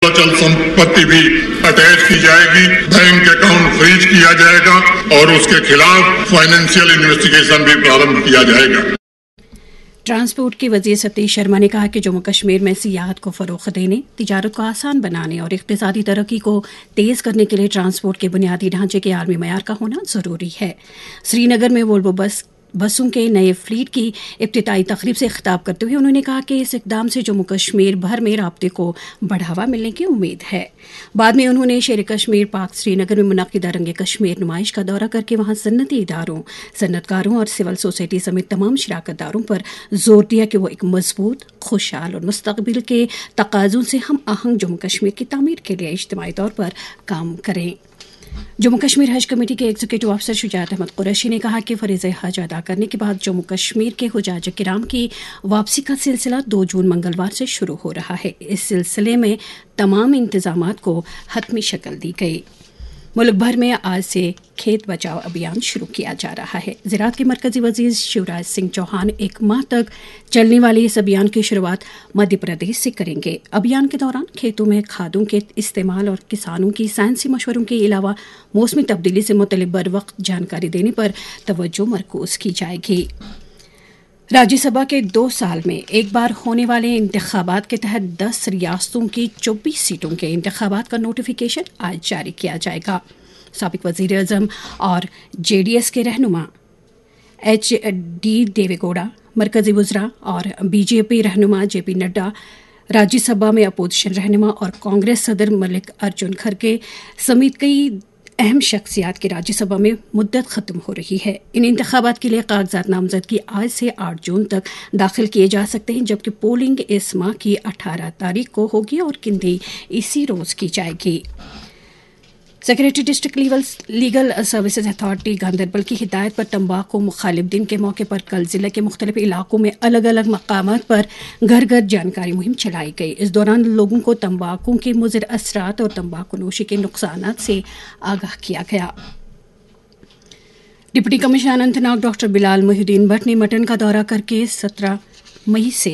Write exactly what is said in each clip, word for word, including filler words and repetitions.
अचल संपत्ति भी अटैच की जाएगी, बैंक अकाउंट फ्रीज किया जाएगा और उसके खिलाफ फाइनेंशियल इन्वेस्टिगेशन भी प्रारंभ किया जाएगा। ट्रांसपोर्ट के वजीर सतीश शर्मा ने कहा कि जम्मू कश्मीर में सियाहत को फरोग देने, तजारत को आसान बनाने और इकतसादी तरक्की को तेज करने के लिए ट्रांसपोर्ट के बुनियादी ढांचे के आलमी मैार का होना जरूरी है। श्रीनगर में वोल्वो बस बसों के नए फ्लीट की इब्तदाई तकरीब से खिताब करते हुए उन्होंने कहा कि इस इकदाम से जम्मू कश्मीर भर में राबते को बढ़ावा मिलने की उम्मीद है। बाद में उन्होंने शेर कश्मीर पाक श्रीनगर में मुनदा रंग कश्मीर नुमाइश का दौरा करके वहां सन्नती इदारों, सन्नतकारों और सिविल सोसाइटी समेत तमाम शराकतदारों पर जोर दिया कि वो एक मजबूत, खुशहाल और मुस्तकबिल के तकाजों से हम आहंग जम्मू कश्मीर की तामीर के लिए इज्तमाही तौर पर काम करें। जम्मू कश्मीर हज कमेटी के एग्जीक्यूटिव अफसर शुजात अहमद कुरैशी ने कहा कि फरीज हज अदा करने के बाद जम्मू कश्मीर के हुजाज किराम की वापसी का सिलसिला दो जून मंगलवार से शुरू हो रहा है। इस सिलसिले में तमाम इंतजाम को हतमी शक्ल दी गई। मुल्क भर में आज से खेत बचाओ अभियान शुरू किया जा रहा है। ज़राअत के मरकजी वजीर शिवराज सिंह चौहान एक माह तक चलने वाले इस अभियान की शुरुआत मध्य प्रदेश से करेंगे। अभियान के दौरान खेतों में खादों के इस्तेमाल और किसानों की साइंसी मशवरों के अलावा मौसमी तब्दीली से मुतलिक बर वक्त जानकारी देने पर तवज्जो मरकूज की जाएगी। राज्यसभा के दो साल में एक बार होने वाले इंतखाबात के तहत दस रियासतों की चौबीस सीटों के इंतखाबात का नोटिफिकेशन आज जारी किया जाएगा। सबक वजीर अजम और जेडीएस के रहनुमा एच डी देवेगौड़ा, मरकजी वज़रा और बीजेपी रहनुमा जेपी नड्डा, राज्यसभा में अपोजिशन रहनुमा और कांग्रेस सदर मल्लिकार्जुन खरगे समेत कई अहम शख्सियात की राज्यसभा में मुद्दत खत्म हो रही है। इन इंतखाबात के लिए कागजात नामजदगी आज से आठ जून तक दाखिल किए जा सकते हैं, जबकि पोलिंग इस माह की अठारह तारीख को होगी और गिनती इसी रोज की जाएगी। Secretary district legal services authority Ganderbal की हिदायत पर तंबाकू मुखालिफ दिन के मौके पर कल जिले के मुख्तलिफ इलाकों में अलग अलग मकामात पर घर घर जानकारी मुहिम चलाई गई। इस दौरान लोगों को तंबाकू के मुजर असरात और तंबाकू नोशी के नुकसानात से आगाह किया गया। Deputy commissioner Anantnag doctor Bilal Mohiuddin Bhatt ने मटन का दौरा करके सत्रह मई से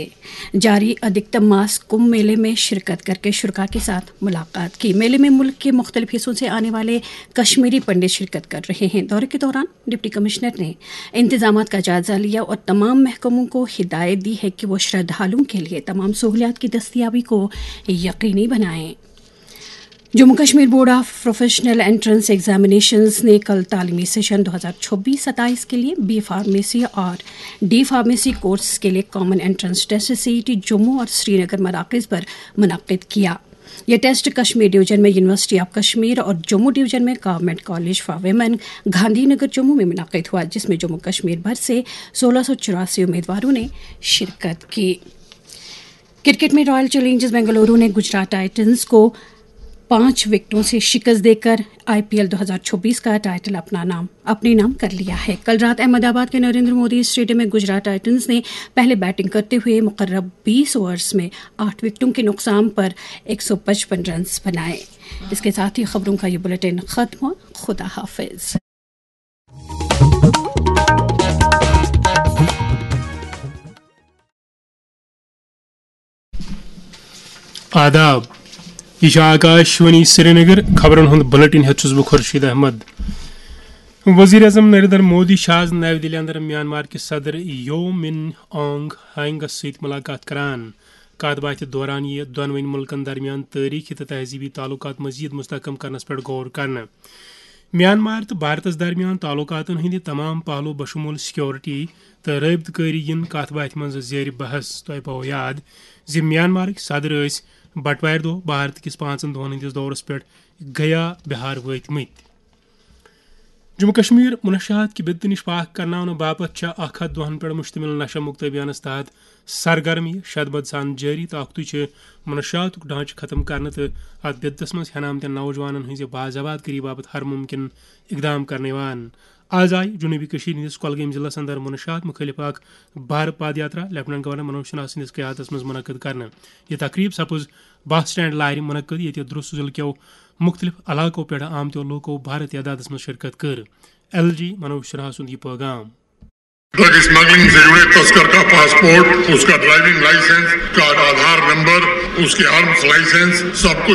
जारी अधिकतम मास कुंभ मेले में शिरकत करके शुरका के साथ मुलाकात की। मेले में मुल्क के मुख्तलिफ हिस्सों से आने वाले कश्मीरी पंडित शिरकत कर रहे हैं। दौरे के दौरान डिप्टी कमिश्नर ने इंतजाम का जायजा लिया और तमाम महकमों को हिदायत दी है कि वो श्रद्धालुओं के लिए तमाम सहूलियात की दस्तियाबी को यकीनी बनाएं। Jammu Kashmir board of professional entrance examinations ने कल तालीमी सेशन दो हज़ार छब्बीस सत्ताईस के लिए बी फार्मेसी और डी फार्मेसी कोर्स के लिए common entrance test CET Jammu और श्रीनगर मराकज पर मुनक्किद किया। यह टेस्ट कश्मीर डिवीजन में यूनिवर्सिटी ऑफ कश्मीर और जम्मू डिवीजन में government college for women Gandhinagar Jammu में मुनक्किद हुआ, जिसमें जम्मू कश्मीर भर से सोलह सौ चौरासी उम्मीदवारों ने शिरकत की। क्रिकेट में रॉयल चैलेंजर्स बेंगलुरु ने गुजरात टाइटंस को पांच विकेटों से शिकस्त देकर आईपीएल दो हज़ार छब्बीस का टाइटल अपना नाम अपने नाम कर लिया है। कल रात अहमदाबाद के नरेंद्र मोदी स्टेडियम में गुजरात टाइटंस ने पहले बैटिंग करते हुए मुकर्रर बीस ओवर्स में आठ विकेटों के नुकसान पर एक सौ पचपन रन बनाए। इसके साथ ही खबरों का ये बुलेटिन खत्म हुआ। खुदा हाफिज। آداب، یہ چھِ آکاشوانی سرینگر۔ خبرن ہُنٛد بلیٹن ہیٚتھ چھُس بہٕ خورشید احمد۔ وزیر اعظم نریندر مودی چھُ آز نَوِ دِلہِ اندر میانمار کِس صدر یو من آنگ ہانگس سۭتۍ ملاقات کران۔ کتھ باتھِ دوران یِیہِ دۄنوٕنۍ مُلکن درمیان تٲریخی تہٕ تہذیبی تعلقات مزید مستحکم کرنس پٮ۪ٹھ غور کرنہٕ۔ میانمار تہٕ بھارتس درمیان تعلقاتن ہٕنٛدِ تمام پہلو بشمول سیکورٹی تہٕ رٲبطہٕ کٲری یِن کتھ باتھِ منٛز زیر بحث۔ تۄہہِ پاوو یاد زِ میانمارٕکۍ صدر ٲسۍ بٹوارِ دۄہ بھارت کِس پانٛژن دۄہن ہٕنٛدِس دورس پٮ۪ٹھ گیا بہار وٲتۍ مٕتۍ۔ جموں کشمیر منشیات کہِ بدعت نِش پاک کرناونہٕ باپتھ چھےٚ اکھ ہتھ دۄہن پٮ۪ٹھ مشتمل نشہ مکت ابھیانس تحت سرگرمی شدبد سان جٲری تہٕ اکھتُے چھِ منشیاتُک ڈھانچہٕ ختم کرنہٕ تہٕ اتھ بدعتس منٛز ہٮ۪نہٕ آمتٮ۪ن نوجوانن ہٕنٛزِ باز آباد کٲری باپتھ ہر ممکن اقدام کرنہٕ یِوان۔ از آیہِ جنوبی کشمیر ہٕنٛدِس کۄلگٲمۍ ضلعس اندر منشیات مُخٲلِف اکھ بھارٕ پاد یاترا لیفٹیننٹ گورنر منوج سنہا سٕنٛدِس قیادتس منٛز منعقد کرنہٕ۔ یہِ تقریب سپٕز بس سٹینڈ لارِ منعقد، ییٚتہِ درست ضلعہٕ کٮ۪و مُختٔلِف علاقو پٮ۪ٹھ آمتیو لوٗکو بھارٕ تعدادس منٛز شرکت کٔر۔ ایل جی منوج سنہا سُنٛد یہِ پٲغام۔ ڈرگ اسمگلنگ سے جڑے تسکر کا پاسپورٹ، اس کا ڈرائیونگ لائسنس، اس کا آدھار نمبر، اس کے آرمز لائسنس، سب کچھ